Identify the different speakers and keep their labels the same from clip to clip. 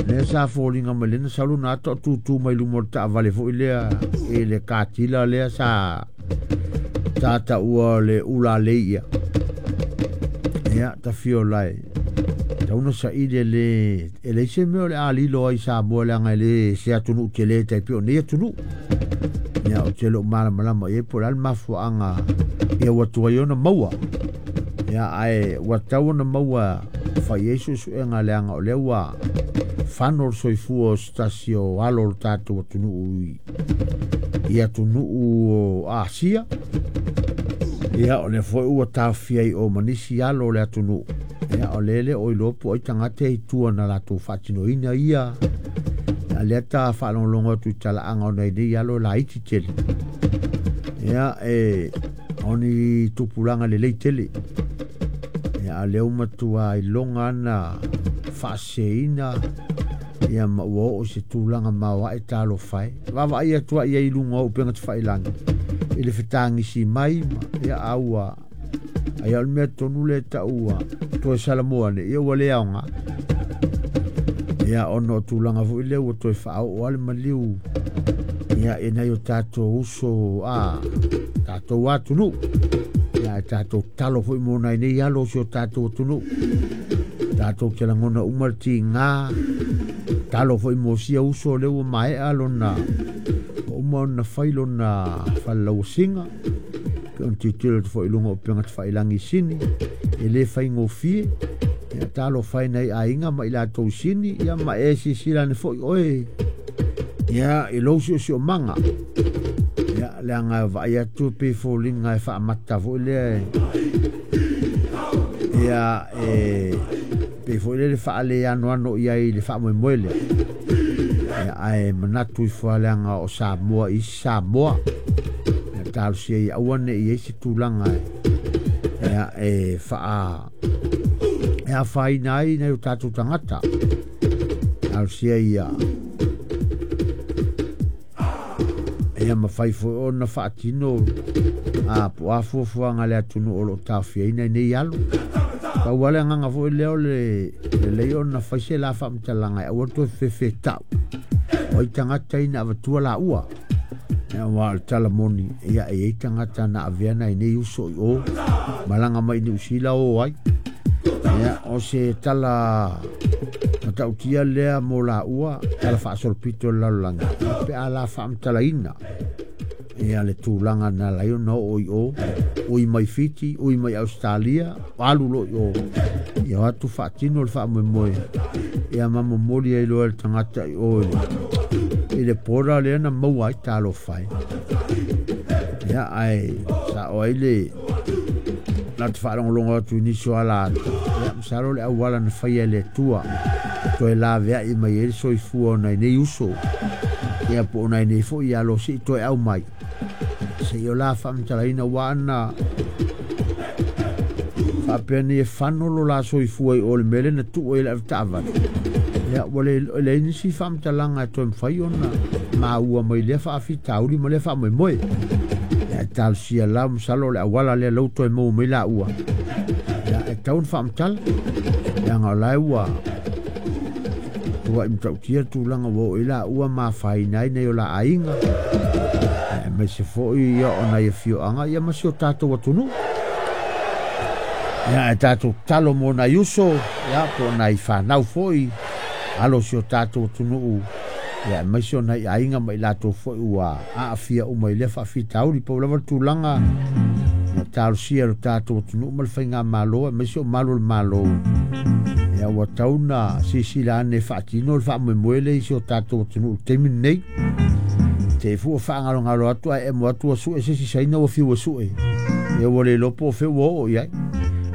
Speaker 1: Lea sa foliga mai lea na sau lona ata o tutū mai luma o le taavale foi lea i le katila lea sa taua o le ulalei ia. Ia tafio lai tauna saili e le e leai se mea o le a lilo ai Samoa leaga e le se atunuu tele tai pei o nei atunuu. Ia ou te le o malamalama i ai po o le a le mafuaaga ia ua tuai ona maua. Ia ae ua tatau ona maua fai ai suesuega leaga o lea ua fano le soifua o se tasi o alo o le tatou atunuu i atunuu o Asia. Ia o lea foi ua taofia ai o ma nisi alo o le atunuu. Ia o lea le o iloa po o ai tagata e i tua na latou faatinoina ia. A lea ta faalogologo atu i talaaga o nai nei alo e laiti tele. Ia e o ni tupulaga lelei tele. Ia a lea ua matua iloga ana faaseseina ia ma ua oo i se tulaga maoae talofa e. Vaavaai atu ai i luga o upega tafailagi i le fetagisi mai ma ia a ua ai o le mea tonu lea e taua toe Salamoa nei ia ua le aoga. Ia ona o tulaga foi lea ua toe faaoo lava le maliu ia i nai o tatou uso a tatou atunuu. Ia ae tatou tatalo foi mo nai nei alo o si o tatou atunuu. Tatou te lagona uma le tiga, talo foi mo sia uso lea ua maea lona ua uma ona fai lona falelauasiga. Pe ona tilotilo atu foi i luga o upega tafailagi i Sini, e le faigofie. Ia talofa e nai aiga ma i latou i Sini, ia ma e silasila ane foi oe ia i lou siosiomaga. Ia leaga e vaai atu e pei e foliga e faamata foi lea ia e pei foi lele faaleanoano i ai i le faamoemoe lea. Ia ae manatu ifo lava leaga o Samoa i isi Samoa. Ia talosia ia aua ne i i ai se tulaga ia e faa e afaina ai nai o tatou tagata. Talosia ia ia mafai foi ona faatino a po o a fuafuaga a le atunuu o lo o taofiaina i nei alo. Pau lava le agaga foi lea o le lelei ona fai se la faamatalaga e aua le toe fefetau o ai tagata ia na avatua laua. Ia aua o le tala moni, ia e i ai tagata na avea nai nei uso i o, malaga mai i Niu Sila o ai. Ia, o se tala matautia lea mo laua, tala faasolopito i le lalolagi, pe a la faamatalaina ia le tulaga na ala ai ona oo i o, ui mai Fiti, ui mai Ausetalia, alu loa i o, ia o atu faatino le faamoemoe, ia ma momoli ai loa e le tagata i o i le border lea na maua ai talofa e. Ia ae sao ai le na te faalogologo atu i nisi o ala atu, ia masalo le auala na faia e le Atua toe laveai mai ai le soifua o nai nei uso, ia po o nai nei foi alo se i toe au mai. Se i o la faamatalaina ua ana faapea nei e fano lo la soifua i o le mea lea na tuu ai le avetaavale. Ia ua le leai nisi faamatalaga e toe mafai ona maua mai lea faafitauli ma lea faamoemoe. Ia e talosia la masalo o le auala lea lou toe maua mai laua. Ia e tatau ona faamatala. Leaga o la e ua tuai matautia le tulaga ua oo i ai laua ma afaina ai nai o la aiga. Aemaise foi ia o nai afioaga ia ma si o tatou atunuu. Ia ae tatou tatalo mo nai uso, ia po o nai fanau foi, alo o si o tatou atunuu, ia aemaise o nai aiga ma i latou foi ua aafia uma i lea faafitauli. Pau lava le tulaga, ia talosia e lo tatou atunuu ma le faigamalo, aemaise o malu o le Malo, ia ua tatau ona silasila ane e faatino le faamoemoe lea i si o tatou atunuu i le taimi lenei. Te i fua faagalogalo atu ae emo atu ua sue se isi Saina ua fiu e sue. Ia ua le iloa po o fea ua oo i ai.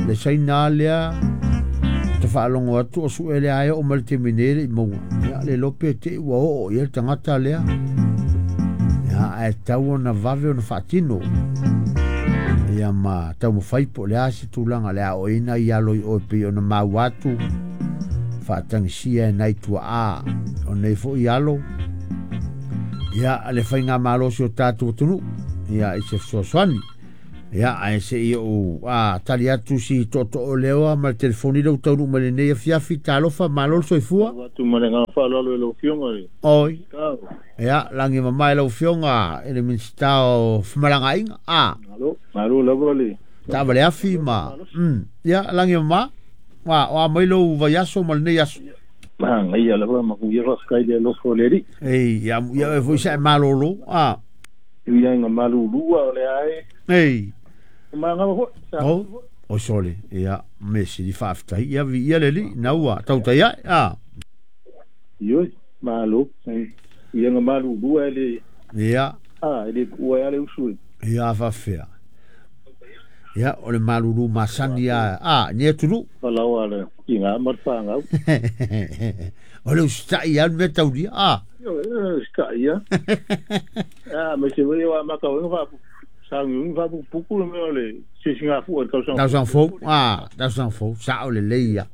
Speaker 1: Le Saina lea ta faalogo atu o sue lea e oo mai le taimi nei e le i maua. Ia le iloa pe te i ua oo i ai le tagata lea. Ia ae tatau ona vave ona faatino. Ia ma taumafai po o le a se tulaga o le a oo i ai nai alo i o e pei ona maua atu faatagisia e nai tuaa o nei foi alo. Ia le faigamalo o si o tatou atunuu ia i se fesoasoani. Ia ae se i ou tali atu si tootoo lea ma le telefoni lea ua taunuu mai lenei afiafi. Talofa, malo le soifua.
Speaker 2: Atu ma le agaga faaaloalo i lau Afioga i le
Speaker 1: Oi.
Speaker 2: Minisita.
Speaker 1: Ia, lagi mamae lau Afioga i le Minisita o Femalagaaiga.
Speaker 2: Malo, malo lava le
Speaker 1: Taavale afi ma ia, lagi mama. O a mai lou vaiaso ma lenei aso.
Speaker 2: Magaia lava ma kuia faafetai le alofa o le Alii.
Speaker 1: Ei, ia, ia e foi sa e malolo.
Speaker 2: Ia inga malulua o le ae.
Speaker 1: Ei.
Speaker 2: Mangama foi. Sa
Speaker 1: O, o sole, ia, me sili faafetai. Ia, vi ia le alii, na ua tautai ai.
Speaker 2: Ioi, malo. Ia nga malulua le
Speaker 1: Ia.
Speaker 2: E le kuua le usu.
Speaker 1: Ia, faafefea. Ia, o le malulu masani a, ni atunu.
Speaker 2: Falaoa le inga ma le whangau.
Speaker 1: O le usitai a le mea taulia.
Speaker 2: Ioi, sta ia. Me se wei wa maka wenga fa sangi fa puku le mea o le sisinga fu o le tausaga.
Speaker 1: Tausaga fou, tausaga fou, sao lelei ia.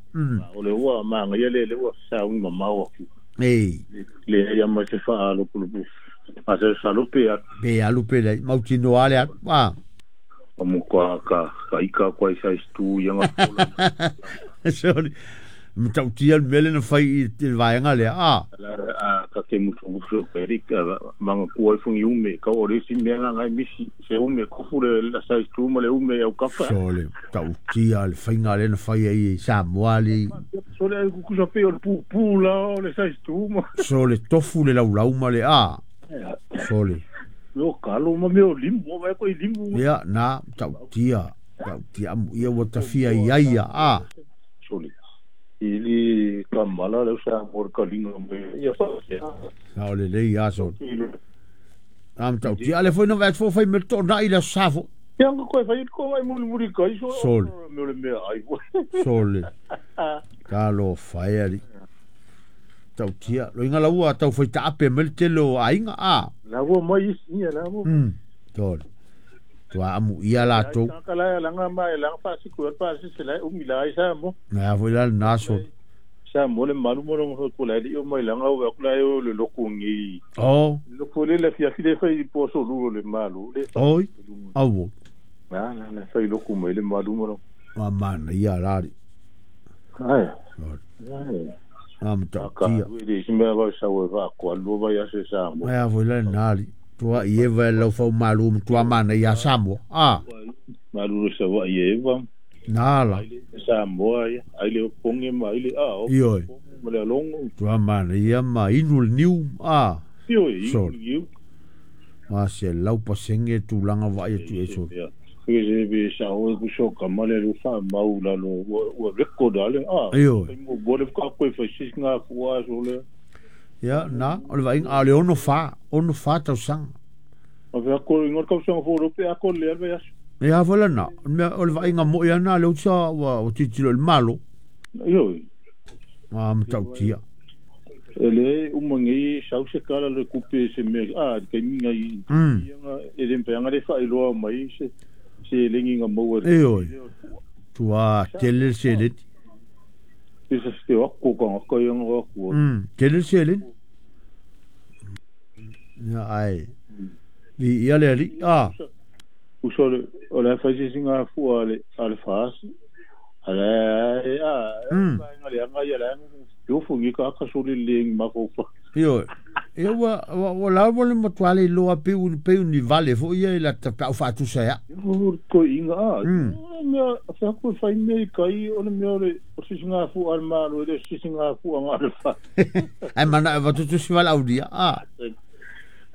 Speaker 2: O le ua manga ia le le ua saungi mamao atu.
Speaker 1: Ei.
Speaker 2: Le ia ma se whaalupulupu. A se salupe atu.
Speaker 1: Pe alu pe lei, mautinoa le atu.
Speaker 2: O mo ka ka ika kwa i size 2 ia ngā pola.
Speaker 1: Sorry. Matautia le mea le na fai i te vaega lea.
Speaker 2: A ka ke mutu mutu pe rik manga kua i fungi ume ka o resi mea nga ngai misi se ume kofu le la size 2 ma le ume au kafa.
Speaker 1: Sole, tautia le faiga le na fai ai i Samoa le.
Speaker 2: Sole ai kukusa pe o le pu pu la o le size 2 ma.
Speaker 1: Sole tofu le laulau ma le Sole.
Speaker 2: Meo kalo ma meo limu, o vai ko i limu.
Speaker 1: Ia, na, tautia. Tautia amu ia ua tafia i ai ia.
Speaker 2: Sole. Ili ka mala le usa mor ka linga me ia fa.
Speaker 1: Sa o le lei a sole. Am tautia le foi no vai fo fai me to na i le safo.
Speaker 2: Ia nga koe fai ko vai muri muri kai so.
Speaker 1: Sole.
Speaker 2: Meo le mea ai.
Speaker 1: Sole. Ka lo fai ali. Tautia lo inga laua tau fai taape me le tele o aiga
Speaker 2: La ua mai isi ia la ua.
Speaker 1: Tole. Tua amu ia la tou.
Speaker 2: Ka la langa mai langa fa siku pa si se la umi la isa mo.
Speaker 1: Na foi la na so.
Speaker 2: Sa mo le malu mo lo ko la li o mai langa o ko la o le loku ngi.
Speaker 1: Oh.
Speaker 2: Loku le la fia file fai po so lu le malu le.
Speaker 1: Oi. Au.
Speaker 2: Na na la fai loku mai le malu mo.
Speaker 1: Ma mana ia la ri.
Speaker 2: Ai. Ai.
Speaker 1: Am tautia.
Speaker 2: Ka le si me va sa o va ko lu va ya se sa mo.
Speaker 1: Ai foi la na ri. Tua i eva lau fau malu tua mana ia Samoa.
Speaker 2: Malu sa va i eva.
Speaker 1: Nā la.
Speaker 2: Samoa ia. Ai le ponge ma ai le a.
Speaker 1: Ioi.
Speaker 2: Ma le longo.
Speaker 1: Tua mana ia ma inu le niu.
Speaker 2: Ioi.
Speaker 1: Sole. Ma se lau pasenge tūlanga vai atu e sole.
Speaker 2: Se be sa o ku so ka ma le lu fa mau la lo ua record ale.
Speaker 1: Ioi.
Speaker 2: Mo bo le ka koe fa sis ngā fua sole.
Speaker 1: Ia, na, o le vainga, a le ono fa tausaga.
Speaker 2: O vea ko ingo tausaga fo rope a ko le alve aso.
Speaker 1: Ia foi la na, o le vainga mo ia na le utsa ua titilo le malo.
Speaker 2: Ioi.
Speaker 1: A matautia.
Speaker 2: E le umangi sau se kala le kupe se me kai minga i. E le mpeanga le fa iloa mai se se lengi nga maua.
Speaker 1: Ioi. Tua tele se le.
Speaker 2: Se se o ko ka ko ia nga ko.
Speaker 1: Tele se le. Ia ai. Vi ia le ri.
Speaker 2: Uso le o la fa se singa fu ale ale fas. Ale a. Nga le nga ia la. Yo fu ngi ka ka so le leng ma ko fa.
Speaker 1: Io. Ia ua la ua le matua le iloa pe ni vale foi ia i la tapau faatusa ia.
Speaker 2: O ko inga. Mea fa ko fai me kai o le mea le o sisinga fu al malo le sisinga fu anga le fa.
Speaker 1: Ai mana va tutu si vala audia.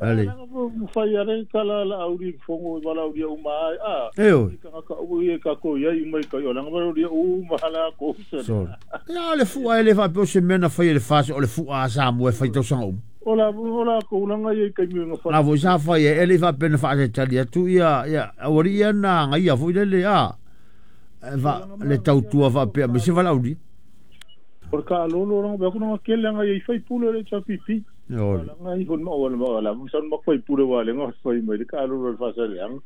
Speaker 1: Ale.
Speaker 2: Fai ale kala la auri fongo wala auri o mai a.
Speaker 1: Eo.
Speaker 2: Ka o ia ka ko ia i mai kai o langa wala o mahala ko se.
Speaker 1: So. Ia le fu ai le fa pe se mena fai le fa o le fu a sa mo e fai tausaga uma.
Speaker 2: Ola ola ko langa ia kai mi nga fa.
Speaker 1: Na foi sa fai e le fa pe na fa se tali atu ia ia awari ia na ngai ia foi le a. Va le tautua fa pe me se wala auri.
Speaker 2: Por ka lolo langa ba ko nga kele nga ia fai pulo le cha pipi.
Speaker 1: Oi.
Speaker 2: Nga i hon ma wala wala musan ma fai pure wale nga fai mai ka lolo fa sa le ang.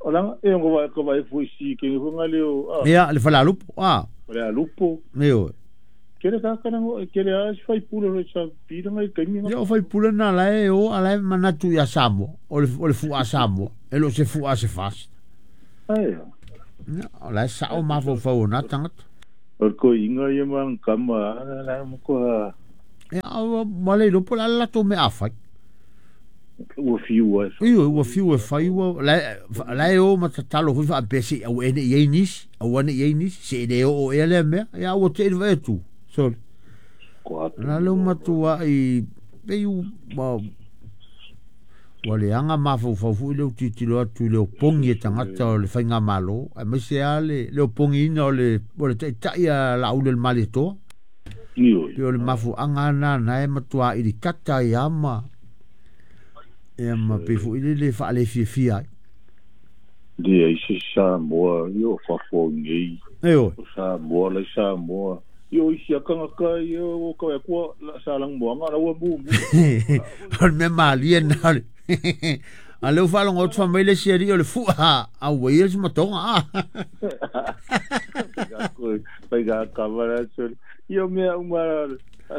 Speaker 2: Ola e ngo va ko vai fu si ke ngo nga le o.
Speaker 1: Ia le fala lupo.
Speaker 2: Le lupo.
Speaker 1: Io.
Speaker 2: Kele ka kana ngo kele a fai pure le cha pi nga kai mi.
Speaker 1: Ia fai pure na la e o ala manatu ia Samoa. O le fu a Samoa. E lo se fu a se fast.
Speaker 2: Ai.
Speaker 1: Ia, o la e sao mafaufau o na tagata.
Speaker 2: O le koiga ia ma kama la mo ko
Speaker 1: Ia, ma le iloa po o le a le latou mea a fai.
Speaker 2: Ua fiu ai.
Speaker 1: Ioe, ua fiu e fai ua la e o ma tatalo foi faapea se i aua ea ne i ai nisi, aua ne i ai nisi, se i le oo ea lea mea. Ia, ua te i le vaai atu, sole. Na lea ua matuai pei ua leaga mafaufau foi lea ua tilotilo atu i le opogi e tagata o le faigamalo, aemaise lava le opogiina o le taitai a Laauli o le Malietoa. Pei o le mafuaaga lena na e matua ilikata ai lava ma, ia ma pei foi lele e faalefiafia ai.
Speaker 2: Leai se Samoa i o fafo nei.
Speaker 1: Ioe.
Speaker 2: O Samoa lai Samoa. I o isi a tagata i o ka akua sa lang moanga la ua mu mu.
Speaker 1: O le mea malie na o le a lea ua faalogo atu fai mai le isi alii o le fua a ua ia le matoga a.
Speaker 2: Fai ga kava la soli. Io mea uma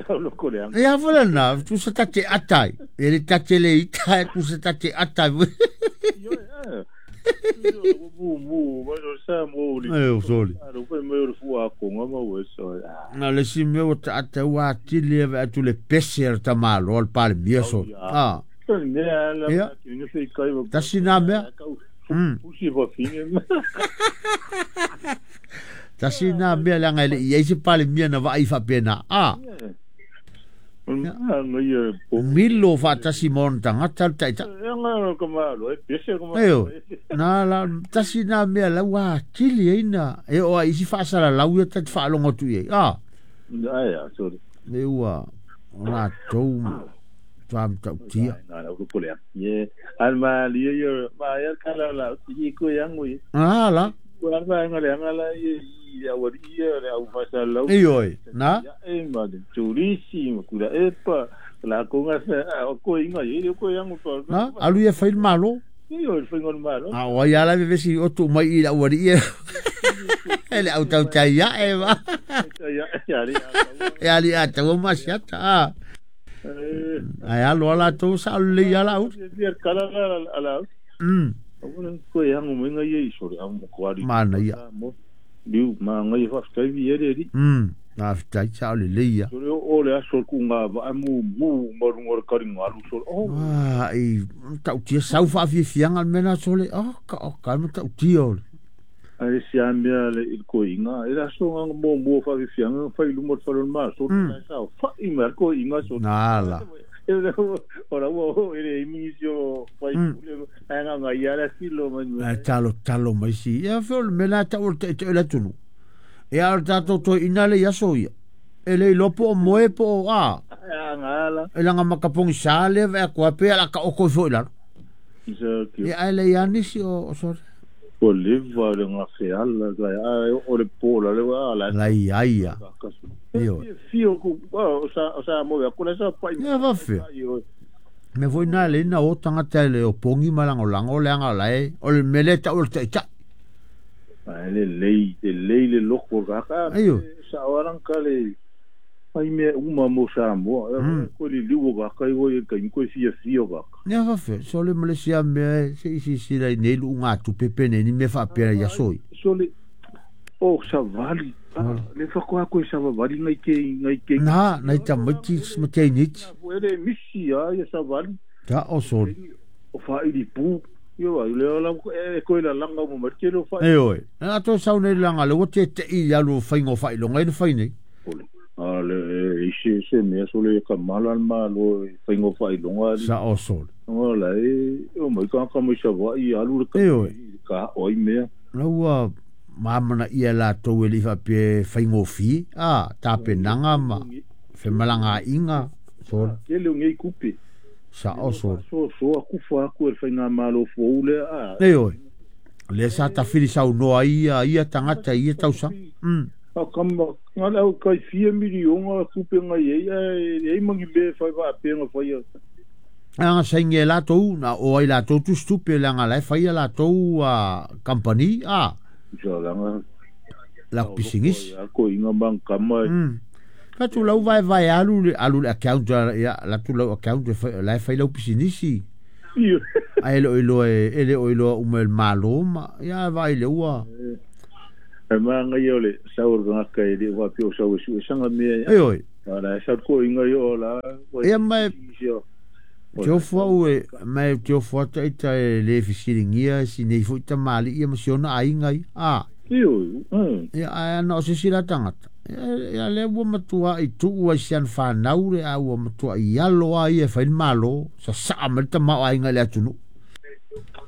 Speaker 2: loko le anga.
Speaker 1: Ia foi lena, tusa ta te ata ai. E le ta te le ita, e tusa ta te ata ai.
Speaker 2: Io e. Mu mu, ma o sa mo li.
Speaker 1: E o soli.
Speaker 2: Alo foi mai o le fua konga ma ua so.
Speaker 1: Na le si mea ua taata ua atili e atu le pese a le tamaloa le Palemia soli. Ah.
Speaker 2: Ia.
Speaker 1: Tasi nā mea.
Speaker 2: Pusi fafine.
Speaker 1: Tasi nā mea leaga e le i ai se Palemia na vaai faapena. Ah. Milo faatasi ma ona tagata le taitai. Ioe, na la, tasi nā mea la ua atili ai na, e oo a isi faasalalau ia ta te faalogo atu i ai. Ah. E ua, o latou tuamatautia. Ah, la. Ioe, na. Na, alu ia fai le malo. A o ai ala vevesi o tu mai i lau alii e. E le au tautai ae ma. E ali a tau ma siata. A. Ai alo ala tau sa le ia la u. Mana ia.
Speaker 2: Liu ma ngai whaftai vi ere ri.
Speaker 1: Whaftai sa o le leia.
Speaker 2: Sore o le aso ku ngā va mu mu marunga o le karinga alu sore. Oh.
Speaker 1: Ah, i tautia sau whaafiafianga le mena sore. Oh, ka o ka ma tautia ole.
Speaker 2: Ai si a mea le il koinga. E la so ngā mō mō whaafiafianga whai lumo te whalon mā. Sore mm. Sa whai mea koinga sore.
Speaker 1: Nā la.
Speaker 2: Ora ua o ere imingi si o whai pule. Ai ngā ngā iara silo mai.
Speaker 1: Ai talo talo mai si. Ia whio le mena tau o te te ela tunu. E a tātou toi ina le iaso ia. E le iloa po o moe po o a. E langa makapongi sa lea vea kua pe ala ka oko ifo i lalo. Ia ai le ianisi o sore.
Speaker 2: O leva le ngā wheala, o le pōla le wa ala.
Speaker 1: Lai ai ia. Io.
Speaker 2: Fio ku o sa mo ya kula sa pai.
Speaker 1: Ia va fia. Me foi na le na o tangata le o pongi malango lango le anga lai o le mele ta o le tai.
Speaker 2: Ai le lei te lei le loko ka ka.
Speaker 1: Aio.
Speaker 2: Sa waran ka le ai me uma mo sa mo. Ko li liu ka kai wo kai ko fia fia ka.
Speaker 1: Ia va fia. So le Malaysia me se isi si lai nei lu ngā tu pepe nei ni me fa pera ia soi.
Speaker 2: So le o sa vali. Le whakoa koe sa vali ngai ke ngai ke.
Speaker 1: Na, nai tamaiti ma te niti.
Speaker 2: Ele misi a ia sa vali.
Speaker 1: Ta o sori.
Speaker 2: O whairi pū. Io ai le la e koe la langa mo marke lo whai.
Speaker 1: E oi. Na to sau nei langa le o te te i alu whaingo whai longa ina whai nei.
Speaker 2: A le e se se mea so le ka mala ma lo whaingo whai longa.
Speaker 1: Sa o sori.
Speaker 2: O la e o mai ka ka mai sa wai alu le ka.
Speaker 1: E oi.
Speaker 2: Ka oi mea.
Speaker 1: La ua mamana ia la tau e lifa pe whaingofi, a tāpenanga ma whemalanga inga, sori.
Speaker 2: Ke leo ngei kupe.
Speaker 1: Sa o sori.
Speaker 2: So so aku fa aku e whainga malo fōule a.
Speaker 1: E oi. Le sa tawhiri sau noa ia, ia tangata, ia tausa.
Speaker 2: A kama, ngā lau kai fia milionga kupe ngai e, e mangi me whai wha apenga whai a.
Speaker 1: Anga sainge la tau, na o ai la tau tu stupe le anga lai whai a la tau a company, a. La pisingis.
Speaker 2: Ko inga mang kama.
Speaker 1: Ka tu lau vai vai alu le alu le account ya la tu lau account lai fai lau pisinisi. Ae le o iloa e le o iloa uma e le Malo ma ia vaai le ua.
Speaker 2: E maga ia o le sau o le tagata e le faapea o sau e suesaga mea.
Speaker 1: Ioe.
Speaker 2: A la e sau koʻiga ia o la.
Speaker 1: Ia ma teofo au e ma e teofo ata ita e le fesiligia sinei foʻi tamaliʻi ma si ona aiga ia a.
Speaker 2: Ioe.
Speaker 1: Ia ae ana o se isi la tagata ia lea ua matuaʻi tuu ai si ana fanau le a ua matuaʻi alo a ia e fai le malo sasaa mai le tamaoaiga i le atunuu.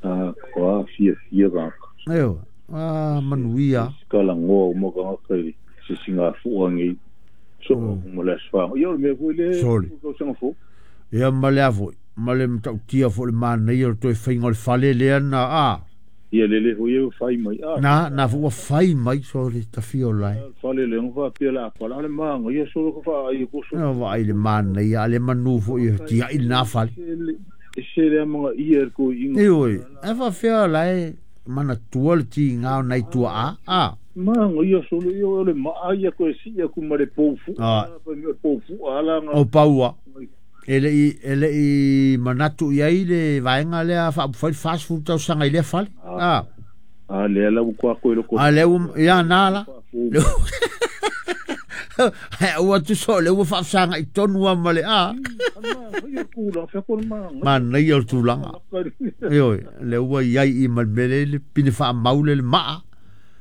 Speaker 2: A koa fiafia tagata.
Speaker 1: Ioe a manuia.
Speaker 2: Kalagoa uma tagata i se sigafuʻa nei so ma le aso faga ia o le mea foi le
Speaker 1: Soli.
Speaker 2: Tausaga fou.
Speaker 1: Ia ma le a foʻi ma le matautia foʻi le manaia o le toe faiga o le fale lea na a.
Speaker 2: Ia lele foi e fai mai a.
Speaker 1: Na foi ua fai mai so le tafia o lae.
Speaker 2: Fale le ga faapea le apala le maga ia solo ka faaai ko so.
Speaker 1: Ia vaai le manaia a le manu foʻi e tiaʻi lenā fale.
Speaker 2: E se le amaga ia le koiʻiga.
Speaker 1: Ioe ae faafea lae manatua le tigā o nai tuaʻā a.
Speaker 2: Maga ia solo ia o le maa ia koe siʻi aku ma le poufuʻa poufuʻa alaga.
Speaker 1: O paua e leʻi manatu i ai le vaega lea faaupufai le 40 tausaga i lea fale a.
Speaker 2: A lea la ua koako i loko.
Speaker 1: A lea ua ia na la ae aua tusa o lea ua faafesagaʻi tonu a ma le a. Manaia o le tulaga ioe lea ua iai i ma le mea lea le pine faamau le le maa.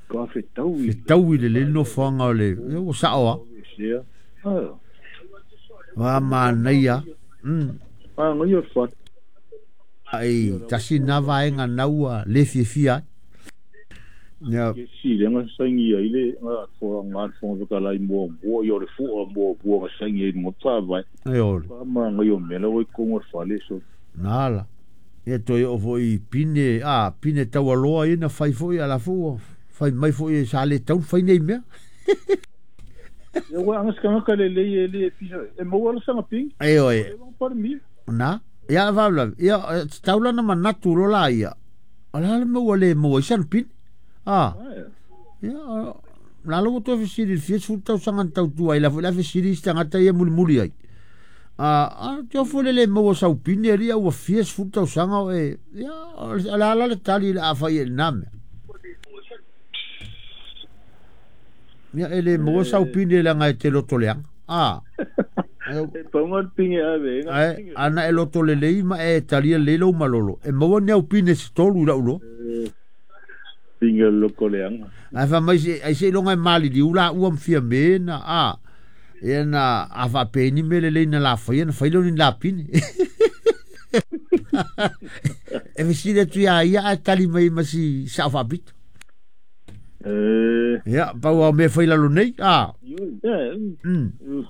Speaker 2: Ka fetaui.
Speaker 1: Fetaui lelei le nofoaga o le ua saʻo a. Wa manaia.
Speaker 2: Manaia le fale.
Speaker 1: Ai tasi na vaega naua le fiafia ai. Ia.
Speaker 2: Si le ga saigi ai le ga ga fofoga fetalai muamua ia o le fuʻa muamua ga saigi ai luga faavae.
Speaker 1: Ioe.
Speaker 2: Maga o mea la ua i totonu o le fale so.
Speaker 1: Na la. Ia toe oo foʻi pine a pine taualoa ia na fai foʻi a la foʻi ua fai mai foʻi sa le tau fai nei mea.
Speaker 2: Ia ua aga se tagata lelei e le pisa e maua la saga pigi.
Speaker 1: Ioe.
Speaker 2: Palemia.
Speaker 1: Na. Ia faalavelave ia tatau lana manatu loa laia o le a le mea ua le maua ai sana pine. A. Ia lalo ua toe fesili i le fia sefulu tausaga na tautua ai la foʻi la fesili isi tagata ia mulimuli ai. A teofo le le maua sau pine alii a ua fia sefulu tausaga o e ia o le a la le tali le afai e lenā mea. Ia e le maua sau pine leaga e te loto leaga. A.
Speaker 2: E pauga le pine ave.
Speaker 1: Ae ana e loto lelei ma e talia lelei lou malolo. E maua ni au pine se tolu i lau loa.
Speaker 2: Pine loko leaga.
Speaker 1: Ae faamai ai seiloga e maliliu laua ma fia me na a. Ia na a faapea ni mea lelei na lafaia na fai lea o ni lapine. E fesili atu iā ia ae tali mai ma si saʻo faapito. Ia pau a o mea fai lalo nei a.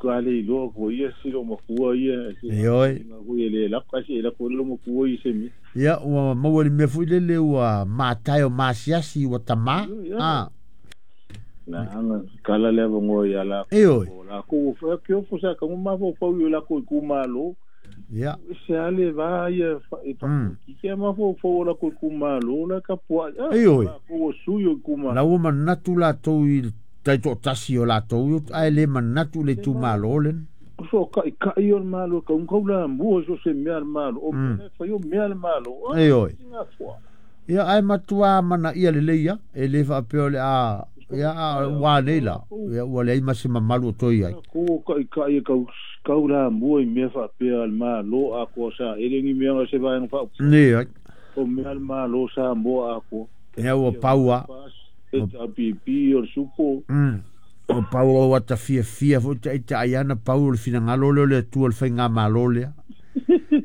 Speaker 2: Ka le iloa ko ia si lo makua ia.
Speaker 1: Ioe.
Speaker 2: Ko ia le laka si la ko lo makua i se mi.
Speaker 1: Ia ua maua le mea foʻi lele ua matae o masiasi ua tamā a.
Speaker 2: Na anga kala le avanoa ia la.
Speaker 1: Ioe.
Speaker 2: La ko fa ke o sa ka ma fo fo la ko ku malo.
Speaker 1: Ia.
Speaker 2: Se ale va ia e pa ki ke ma fo fo la ko ku malo la ka po.
Speaker 1: Ioe.
Speaker 2: Ko su yo ku ma.
Speaker 1: La ua manatu latou i taitoʻatasi o latou ae le manatu le itumalo lena.
Speaker 2: So ka i ka i o le malo ka un kaula mua so se mea le malo o mea fai o mea le malo.
Speaker 1: Ioe. Ia ae matuā manaia lelei ia e le faapea o le a ia ua nei la ia ua leai ma se mamalu o toe ai.
Speaker 2: Ko ka i ka i kau kaula mua i mea faapea le malo a ko sa ele ni mea se vaega fa.
Speaker 1: Nei ai.
Speaker 2: O mea le malo sa moa a ko.
Speaker 1: Ia ua paua.
Speaker 2: E ta pipi o le supo.
Speaker 1: O pau ua tafiafia foʻi taʻitaʻi ana pau o le finagalo lea o le Atua le faigamalo lea.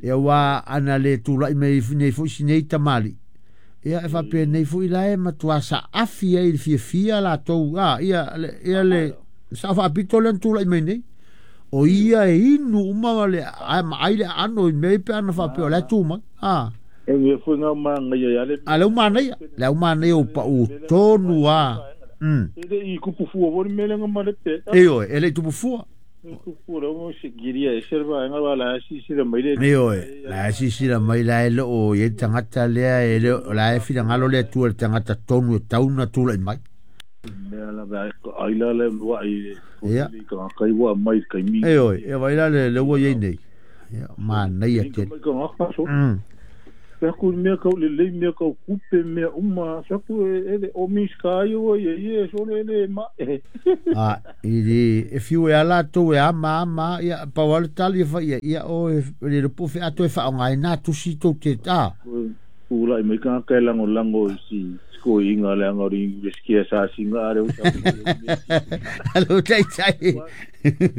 Speaker 1: Ia ua ana le tulaʻi mai nei foʻi sinei tamaliʻi. Ia e faapenei foʻi la e matuā saafi ai i le fiafia latou a ia ia le saʻo faapito lea na tulaʻi mai nei. O ia e inu uma le ae maai le aano i mea pe ana faapea o le tu mai. A.
Speaker 2: E mea foi ngā manaia ia le.
Speaker 1: A le au manaia, le au manaia o paʻu tonu a.
Speaker 2: E le i kupu fua foi le mea lenga ma le pe.
Speaker 1: Ioe, e le i tupu fua.
Speaker 2: Tupu fua le o se giria e serva nga wala si si la mai le.
Speaker 1: Ioe, la si si la mai la e lo o ye tangata lea e le la e finagalo le Atua le tagata tonu e tau na tulaʻi mai.
Speaker 2: Mea la vai ai la le wa i.
Speaker 1: Ia.
Speaker 2: Ka kai wa mai kai mi.
Speaker 1: Ioe, e vai la le ua iai nei. Ia, manaia tele.
Speaker 2: Mai ka ngaka so. Aku mea kau lelei mea kau kupe mea uma saku e o miska ai o ia sole le ma e.
Speaker 1: A i e fiu e ala tu e ama ama ia pa wale tali fa ia ia o e le po fe ato e fa ngai na tusi to te ta.
Speaker 2: Ula i mai ka ka lango lango si ko inga le anga ri skia sa singa are o sa.
Speaker 1: Alo tai tai.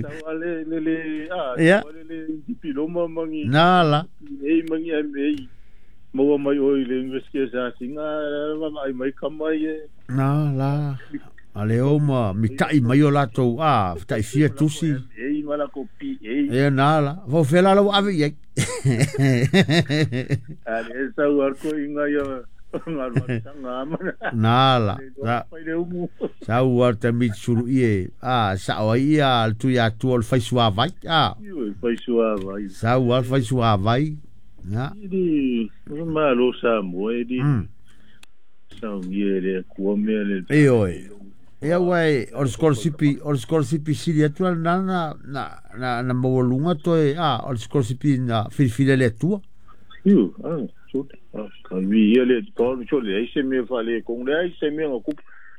Speaker 2: Sa le le le a le le diploma mangi.
Speaker 1: Na la.
Speaker 2: Ei mangi ai maua mai oi le investia sa singa ai mai kamai e.
Speaker 1: Na la. Ale o ma mitai mai o latou a tai fia tusi.
Speaker 2: Ei mala ko pi ei.
Speaker 1: E na la. Vo fela lo ave i.
Speaker 2: Ale sa war ko inga ia
Speaker 1: Na la. Sa war te mitsuru ie. A sa o ia al tu ia tu ol faisua vai. A.
Speaker 2: Faisua vai.
Speaker 1: Sa war faisua vai. Na.
Speaker 2: Di malo sa mo e di. Sa ngie le ku me le.
Speaker 1: E oi. E wai o scholarship sili atu na na na na mawalunga to e a o scholarship na filifili le atua.
Speaker 2: Iu, a so ka vi ia le to so le se me fa le kong le se me ngo ku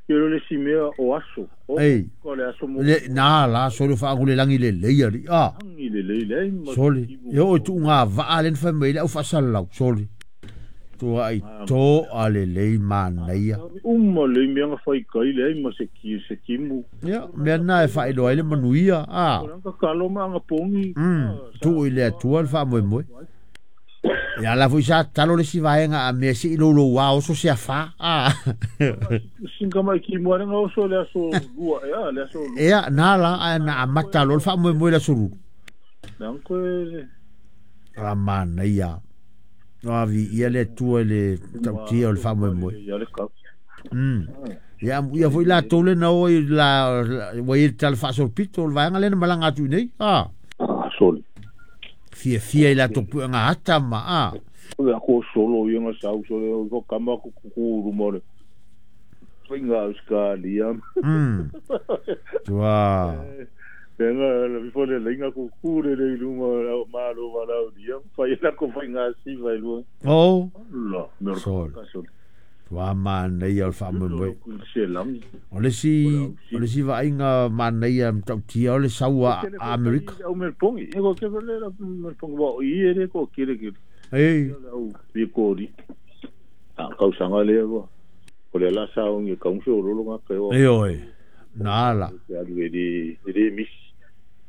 Speaker 2: yo le si me o aso.
Speaker 1: Ei.
Speaker 2: Ko le aso mo.
Speaker 1: Le na la so le fa le langi le le ia li a.
Speaker 2: Langi le le le.
Speaker 1: Soli. Yo tu nga va le fa me le au fa salau soli. Tu ai to a le le manaia.
Speaker 2: Uma le me nga fai kai le ma se ki se kimu.
Speaker 1: Ia me na e fa ilo ai le manuia a.
Speaker 2: Ka kalo ma nga pongi.
Speaker 1: Tu i le atua le fa moe moe. Ia la foi sa talo le si vaenga a me si ilo lo wa o so se afa. A.
Speaker 2: Singa mai ki mo nga o so le aso lua ia le aso.
Speaker 1: Ia na la a na amata lo fa moe moe la suru.
Speaker 2: Nang ko
Speaker 1: a manaia. No vi ia le tua le tautia o le fa moe moe.
Speaker 2: Ia le ka.
Speaker 1: Ia ia foi la tole na o la wa i tal fa so pito le vaenga le na malanga tu nei. A.
Speaker 2: Ah soli.
Speaker 1: Fia fia i la topu nga hata ma a.
Speaker 2: O ko solo ia nga sau solo ko kama ku ku rumore. Finga Australia.
Speaker 1: Tua.
Speaker 2: Venga la vi le lenga ku ku le le luma ma lo va la dia. Fa ila ko finga si va lu.
Speaker 1: Oh.
Speaker 2: La me
Speaker 1: sol. Tua ma nei al fa mo mo. O le si va inga ma nei am tautia o le saua Amerika.
Speaker 2: O me pongi. E ko ke le la me pongi ba i ere ko kire kire.
Speaker 1: Ei.
Speaker 2: Au vi ko ri. A kau sanga le ko. O le la sa ngi kau so lo lo nga ke o.
Speaker 1: Ei oi. Na la.
Speaker 2: Ya lu di mis.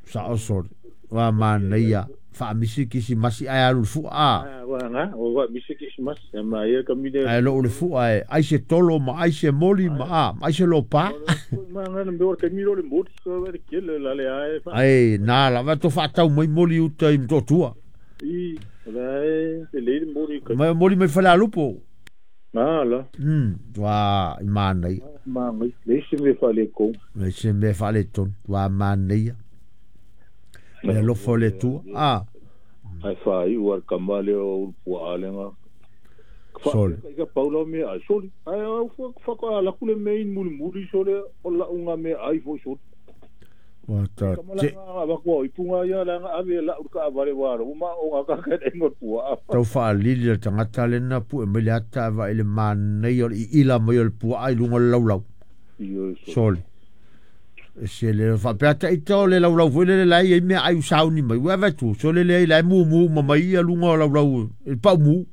Speaker 1: Sa o so. Wa ma nei a fa misi kisi masi ai alu fu a.
Speaker 2: Wa nga o wa misi kisi masi ma ia ka mi le.
Speaker 1: Ai lo le fu ai ai se tolo ma ai se moli ma a ai se lo pa.
Speaker 2: Ma nga me or ke mi lo le moli so va ke le la le ai.
Speaker 1: Ai na la va to fa tau mai moli uta i to tua.
Speaker 2: I la e le moli ka.
Speaker 1: Ma moli mai fa la lupo.
Speaker 2: Na la.
Speaker 1: Tua i ma nei.
Speaker 2: Ma ngai le se me fa le ko.
Speaker 1: Le se me fa le ton tua ma nei. Le lo fo le tu a.
Speaker 2: Ai fa i war kamale o pua alenga.
Speaker 1: Soli.
Speaker 2: Ka paulo me ai soli. Ai au fa ka la kule me in muli muli sole o la unga me ai fo soli.
Speaker 1: Wa ta te
Speaker 2: ba ko i punga ia la ave la ka vale wa ro ma o ka ka e ngo pua.
Speaker 1: Tau fa lili le tangata le na pu e me le ata va ile manei o i ila mai o le pua ai lunga lau lau. Soli. Se le fa peta i to le lau lau foi le lai e me ai sauni mai wa va tu so le le lai mu mu ma mai ia lunga lau lau e pa mu.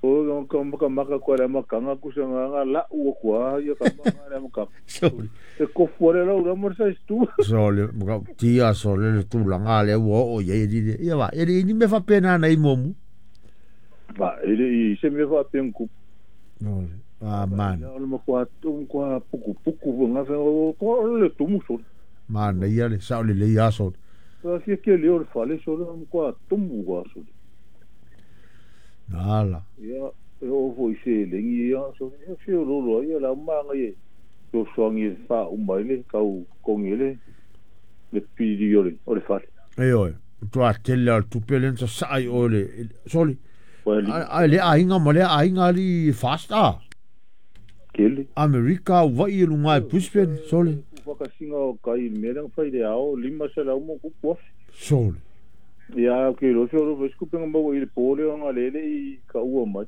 Speaker 2: O ka maka maka ko la makanga ku sa nga la u ko ia ka maka la maka.
Speaker 1: Soli.
Speaker 2: E ko fuore la ura mo sa stu.
Speaker 1: Soli maka tia soli le tu la nga le wo o ye di ia va e ni me fa pena na i momu.
Speaker 2: Va e i se me fa pen ku.
Speaker 1: No. Ah man.
Speaker 2: O mo ko tu ko puku puku nga fa ko le tu mu so.
Speaker 1: Man ia le sa le le ia so.
Speaker 2: Sa si ke le o fa le so mo ko tu mu wa so.
Speaker 1: Nala.
Speaker 2: Ia o foi se lengi ia so se lo lo ia la manga ye. So swangi fa o mai le kau kongi le le pidi o le o le fa.
Speaker 1: Ei oi. Tua tele al tu pelen sa sai o le soli. Ai le ainga ma le ainga li fast a.
Speaker 2: Kele.
Speaker 1: Amerika wa i lunga Brisbane soli.
Speaker 2: Whakasinga o kai me lang fai le ao lima se la mo ku po.
Speaker 1: Soli.
Speaker 2: Ia ke lo so lo sku penga mo i le pole nga le le i ka ua mai.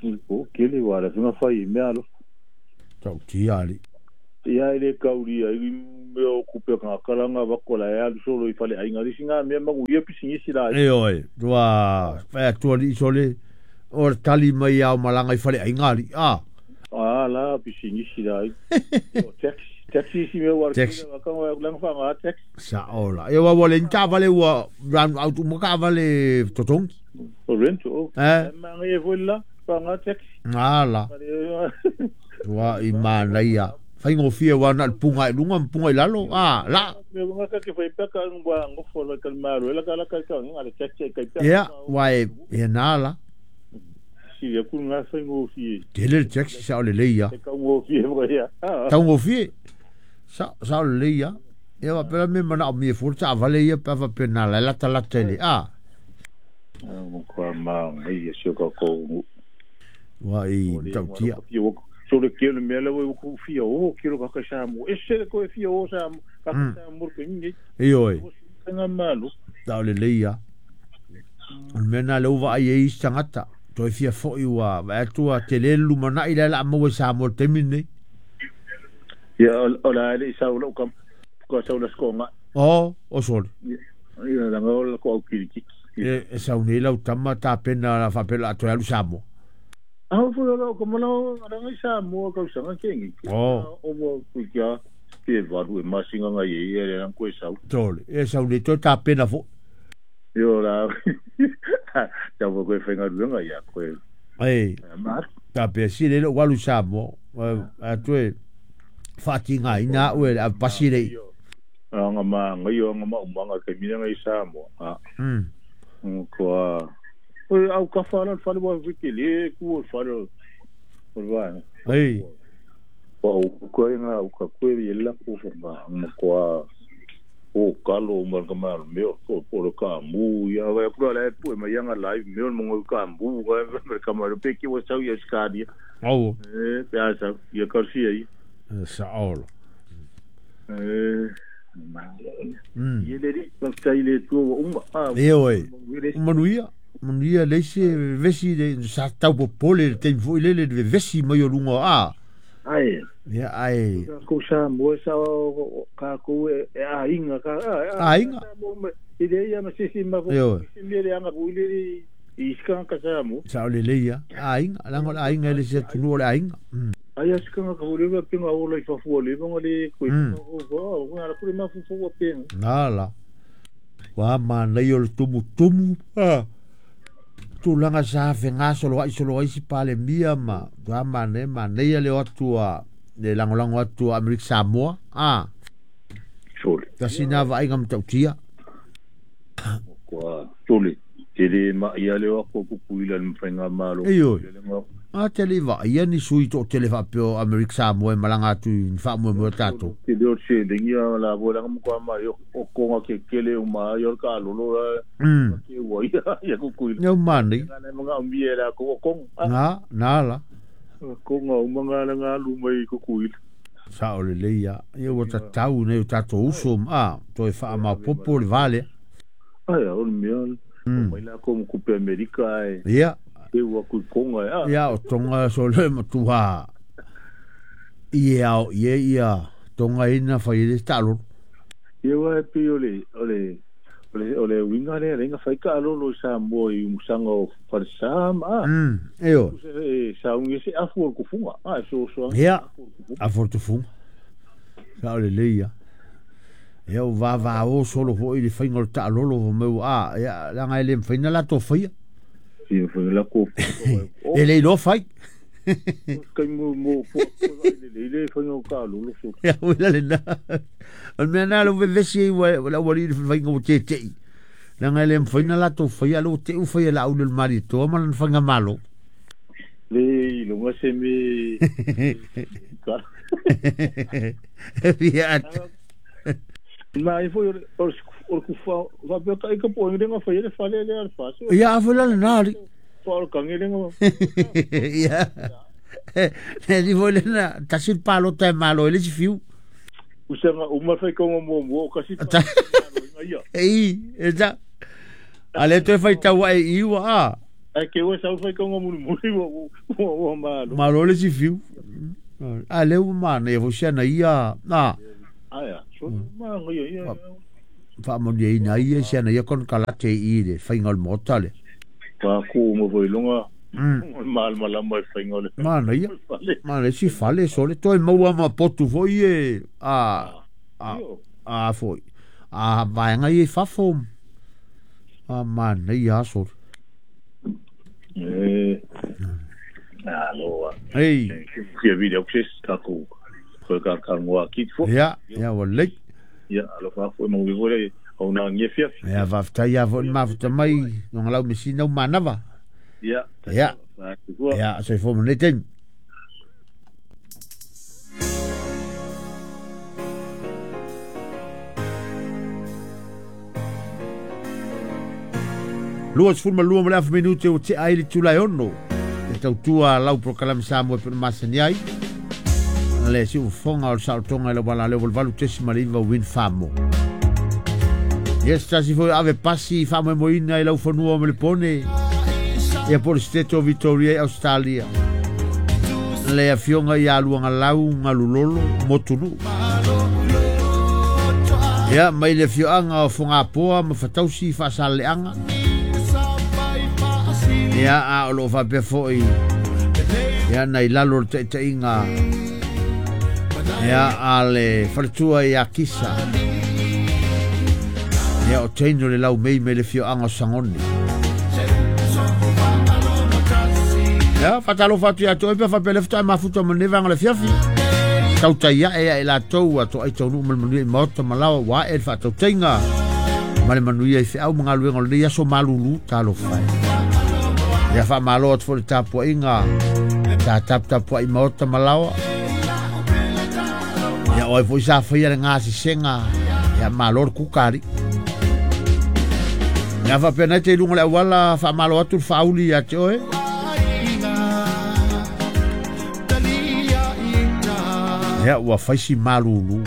Speaker 2: I po ke le wala finga fai me alo.
Speaker 1: Tau tia ali.
Speaker 2: Ia ile kauri ai me o kupe ka kalanga vakola e alu solo i fale ai ngari singa me mangu ia pisingisi la.
Speaker 1: E oi, tua fa tua li sole o tali mai au malanga i fale ai ngari. Ah.
Speaker 2: Ah la pisingisi la. O taxi taxi si me war ka wa lang fa nga taxi.
Speaker 1: Sa ola. E wa wale nta vale wa ran out mo ka vale totongi.
Speaker 2: O rent o.
Speaker 1: Eh.
Speaker 2: Ma ngi vola fa nga taxi.
Speaker 1: Ala. Tua i manaia. Whaingofia wa na punga i lunga punga i lalo. Ah, la.
Speaker 2: Me nga ka ke fai peka ngwa ngofo la ka maro la ka la ka ka nga le taxi ka
Speaker 1: ka. Ia, wa e nala.
Speaker 2: Si ya ku nga whaingofia.
Speaker 1: Tele taxi sa ole leia.
Speaker 2: Ka ngofia mo ia.
Speaker 1: Ka ngofia. Sa sa ole leia. Ia wa pera me mana o mi forza vale ia pa fa pena la la tala tele. Ah.
Speaker 2: Mo kwa ma ngai se ka ko.
Speaker 1: Wa i tautia.
Speaker 2: So le kelo me le wo ku fia o kelo ka ka sa mo ese ko fia o sa ka sa mo ko ngi
Speaker 1: e oi
Speaker 2: nga malu
Speaker 1: ta le leia on mena le uva ai e sangata to fia fo i wa va tua tele lu mana ila la mo sa mo temine
Speaker 2: ya ola le sa lo kam ko sa lo sko nga
Speaker 1: o o sol
Speaker 2: ya la ngo ko ki
Speaker 1: e sa unela utama ta pena la fa pela to ya lu sa mo.
Speaker 2: Ah, foi lá como não não isa mo ka sa nga kengi.
Speaker 1: Oh.
Speaker 2: O mo ku kia ke varu e masinga nga ye ye lan ko sa.
Speaker 1: Tole, e sa uni to ta pena fo.
Speaker 2: Yo la. Ta mo ko fenga lunga ya ko.
Speaker 1: Ei.
Speaker 2: Ma
Speaker 1: ta pe si le walu sa mo. A toe fatinga ina o a pasire.
Speaker 2: Nga ma nga yo nga ma umanga ke mina nga isa mo. Ah. Ko au ka fala fala wa vikele ku fala wa
Speaker 1: ei
Speaker 2: wa ko nga u ka ko ye la ku fa ma ko o kalo ma ka ma me o ko ka mu ya wa ku la pu ma ya nga live me mo ka mu ga ka ma pe ki wa sa ya ska dia
Speaker 1: au
Speaker 2: e pe sa ya ka si ai
Speaker 1: sa ol
Speaker 2: e ma ye le ri pa ta ile tu o ma
Speaker 1: e oi manuia Manuia leise vesi le sa tau popole le tei foi lele le vesi mai o lunga a.
Speaker 2: Ai.
Speaker 1: Ia ai.
Speaker 2: Ko sa mo sa ka ko e a inga ka
Speaker 1: a inga.
Speaker 2: I le ia ma sisi ma fo. Si le anga ku le i ska ka sa mo.
Speaker 1: Sa le le ia. A inga la ngo a inga le se tunu le a inga.
Speaker 2: Ai ska ka ko le pinga o le fa fu le ngo le ko ko ko ala ku ma fu fu pinga.
Speaker 1: Nala. Wa ma nei o tumu tumu. Ah. Tūlanga sa whenga solo ai si pale mia ma tua mane mane le atua le langolango atua Amerika Samoa a
Speaker 2: sole
Speaker 1: tasina vainga mtautia
Speaker 2: kwa sole tele ma ia le ko ku ila mfenga malo
Speaker 1: a tele va ia ni sui to tele fa peo Amerika Samoa malanga tu fa mo mo tato
Speaker 2: te le se lengia la bola mo kwa ma yo ko nga ke kele o ma yo ka lolo la ke wa ia ku ku
Speaker 1: no mani
Speaker 2: na mo nga mi era ko ko
Speaker 1: na na la
Speaker 2: ko nga o nga nga lu mai ku ku
Speaker 1: sa o le ia ia o ta tau ne o tato uso a to e fa ma popo le vale
Speaker 2: ai o mi o mai la ko ku pe Amerika e
Speaker 1: ia
Speaker 2: e ua ku konga
Speaker 1: ia o tonga so le matua ia o ia ia tonga ina fai le talo
Speaker 2: ia wa pe ole ole ole ole winga le lenga fai ka lolo sa mo i musanga o farsam a
Speaker 1: e o
Speaker 2: sa ungi se afu ku funga a so so
Speaker 1: ia afu ku funga sa ole le ia ia o va va o solo fo i le fainga o talo mo a ia la ngai le faina la to fai
Speaker 2: si foi la ko
Speaker 1: e le lo fai
Speaker 2: kai mo mo fo le le foi no ka lo lo so
Speaker 1: ya wala le na al me na lo vesi wa la wali fai ngo te te la ngai le faina la to fai lo te u fai la u le mari to ma lan fanga malo
Speaker 2: le lo ma se me ka
Speaker 1: ya
Speaker 2: ma i foi o ku fa va be ka ka po ngi fa le fa le le fa so
Speaker 1: ya fa la na ri
Speaker 2: fa ka ngi nga
Speaker 1: ya ne di volen ta sil palo te malo le fiu
Speaker 2: u se nga u ma fa ko mo mo ka si
Speaker 1: Ei, e sa. A le toe faitau ae i ua a.
Speaker 2: Ai ke ua sau faitauga mulimuli ua malo.
Speaker 1: Malo le isi fiu. A lea ua manaia foi si ana ia na.
Speaker 2: Aia, so manaia ia.
Speaker 1: Faamanuiaina ai ia si ana ia konekarate i le faiga o le maota lea.
Speaker 2: Paku uma foi i luga o le malamalama i faiga o le
Speaker 1: Manaia.
Speaker 2: fale.
Speaker 1: Manaia si fale sole toe maua ma potu foi e a foi. A vaega ia i fafo. A manaia aso.
Speaker 2: E alo.
Speaker 1: Ei.
Speaker 2: Fia video se tatou toe talanoa atu foi.
Speaker 1: Ia, ia ua lelei.
Speaker 2: Ia, alofa foi manuia foi le auaunaga i afiafi.
Speaker 1: Ia, faafetai lava foi le mafuta mai Luagalau Mesina ua manava.
Speaker 2: Ia,
Speaker 1: Ia. Ia, soifua ma lenei taimi. 22 ma le afa minute ua tea ai le itula e 6 e tautua lau polokalame Samoa e pei ona masani ai. Le siufofoga o le saolotoga i le auala leo 88.9 Wind Farm. Yes, tasi foi ave pasi faamoemoeina i lau fanua o Melepone. Ia po o le State o Victoria i Australia. Le afioga ia Luagalau Galulolo Motunuu. Ia, mai le afioaga o Fogapoa ma Fatausi Faasaleleaga. Ia, a o loo faapea foi ia nai lalo o le taitaiga ia a le faletua ia Kisa. Ia o teino le lau mei me le afioaga o Sagone. Ia, faatalofa atu ia te oe pe faapea le faatoa e mafuta ma lenei vaega o le afiafi. Tautai ae ia i latou a toai taunuu ma le manuia i maota ma laoa ua ae le faatautaiga ma le manuia i feau ma galuega o lenei aso malulu talofa e. Ia faamalo atu foi le tapuaiga sa taputapuai maota ma laoa. Ia o ai foi sa faia le gasesega ia malo le kuka alii. Ia faapea nei te i luga o le auala faamalo atu le faauli ia te oe. Ia ua faisi malulu.